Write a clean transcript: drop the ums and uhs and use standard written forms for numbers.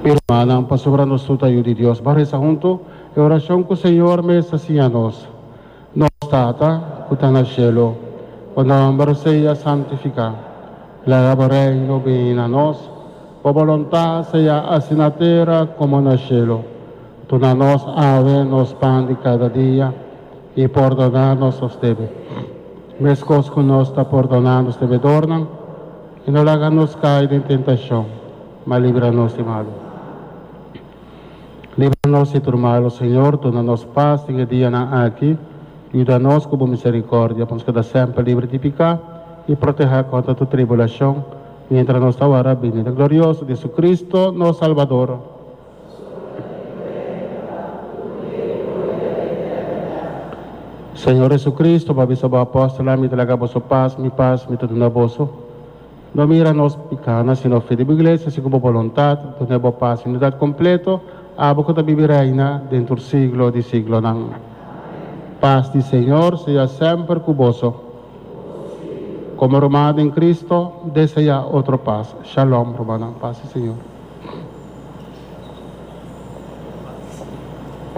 Mi rumannan, pasobra nos tur ta yu di Dios, ban resa huntu e orashon ku Señor mes a siña nos, Nos Tata ku ta na shelu, bo nòmber sea santifiká. Laga bo Reino bini na nos. Bo boluntat sea hasi na tera komo na shelu. Duna nos awe nos pan di kada dia, i pordoná nos nos debe, meskos ku nos ta pordoná nos debedornan. I no laga nos kai den tentashon, ma libra nos di malu. Libra nos di tur malu, Señor, duna nos pas den e dianan aki, yuda nos ku bo miserikòrdia pa nos keda semper libre di piká i protehá kontra tur tribulashon, miéntras nos ta wara binida glorioso di Jesucristo, nos Salbador. Señor Jesucristo, bo a bisa bo apòstelnan, Mi ta laga boso pas, mi pas mi ta duna boso. No mira nos pikánan, sino fe di bo iglesia, segun bo boluntat, duna bo pas i unidat kompleto, abo ku ta biba i reina den tur siglo di siglonan. Pas di Señor sea semper ku boso. Komo ruman den Cristo, deseá otro pas. Shalom, rumannan. Pas di Señor.